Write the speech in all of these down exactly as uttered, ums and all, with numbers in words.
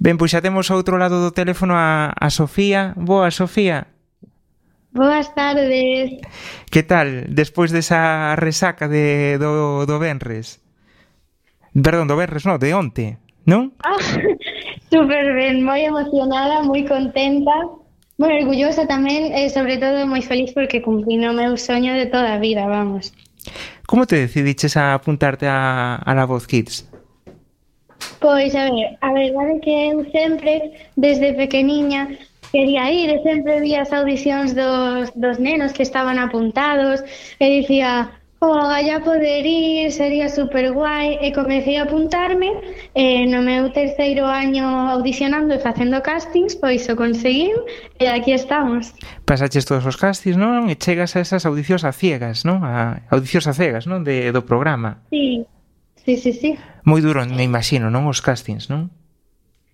Ben, pois xa temos ao outro lado do teléfono a, a Sofía. Boa, Sofía. Boas tardes. Que tal, despois desa resaca de, do, do Venres? Perdón, do Venres, non, de onte, non? Ah, super ben, moi emocionada, moi contenta, moi orgullosa tamén e sobre todo moi feliz porque cumprí o meu soño de toda a vida, vamos. Como te decidiches a apuntarte a, a La Voz Kids? Pois, a ver, a verdade é que eu sempre, desde pequeniña, quería ir e sempre vi as audicións dos, dos nenos que estaban apuntados e dicía, oh, ya poder ir, sería super guai, e comecei a apuntarme e no meu terceiro año audicionando e facendo castings, pois o conseguín e aquí estamos. Pasaches todos os castings, non? E chegas a esas audicións a ciegas, non? A audicións a cegas, non? De, do programa. Sí, sí, sí, sí. Moi duro, me imagino, non? Os castings, non?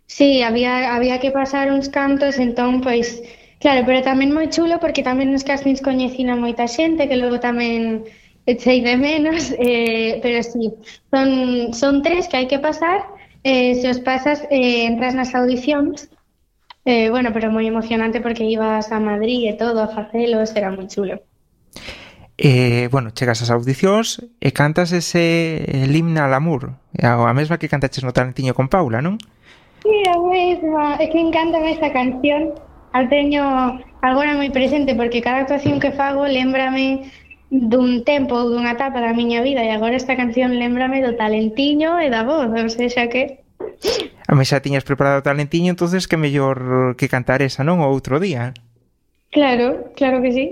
Sí, había, había que pasar uns cantos, entón, pois, claro, pero tamén moi chulo porque tamén nos castings coñecina moita xente que logo tamén echei de menos, eh, pero sí, son, son tres que hai que pasar, eh, se os pasas eh, entras nas audicións, eh, bueno, pero moi emocionante porque ibas a Madrid e todo a facelos, era moi chulo. Eh, bueno, chegas ás audicións e cantas ese el himno al amor, a, a mesma que cantaches no Talentiño con Paula, non? Sí, a mesma, é que encántame esa canción, a teño agora moi presente porque cada actuación que fago lémbrame dun tempo ou dunha etapa da miña vida e agora esta canción lémbrame do Talentiño e da voz, ou seja que... A mí xa tiñas preparado o Talentiño, entonces que mellor que cantar esa, non? O outro día. Claro, claro que sí.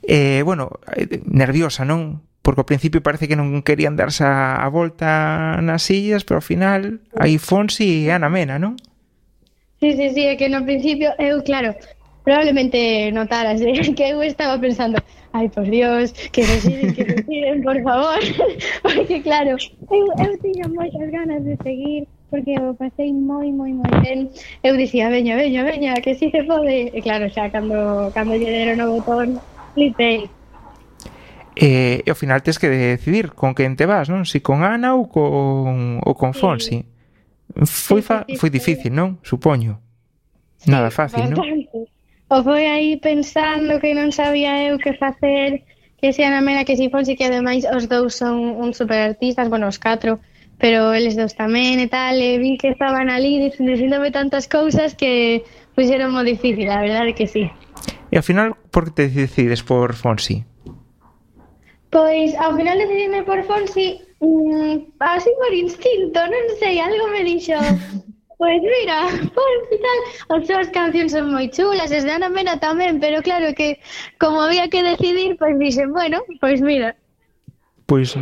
Eh, bueno, nerviosa, non? Porque ao principio parece que non querían darse a, a volta nas sillas, pero ao final aí Fonsi e Ana Mena, non? Sí, sí, sí, é que no principio eu, claro, probablemente notaras eh, que eu estaba pensando, ai, por Dios, que reciben, que reciben, por favor, porque claro, eu, eu tiña moitas ganas de seguir, porque eu pasei moi, moi, moi ben, eu dicía, veña, veña, veña, que si se pode, e claro, xa, cando, cando lle deron o botón, flipei. E, e ao final tes que decidir con quen te vas, non? Si con Ana ou con, ou con Fonsi. Foi, fa, foi difícil, non? Supoño. Nada fácil, non? O foi aí pensando que non sabía eu que facer, que se Ana Mena, que si Fonsi, que ademais os dous son un super artistas, bueno, os catro, pero eles dous tamén e tal, e vi que estaban ali dicíndome tantas cousas que puxeron moi difícil, a verdade que sí. E ao final, por que te decides por Fonsi? Pois, ao final decidime por Fonsi, mmm, así por instinto, non sei, algo me dixo, pois mira, Fonsi tal, as súas cancións son moi chulas, as de Ana Mena tamén, pero claro que, como había que decidir, pois dixen, bueno, pois mira. Pois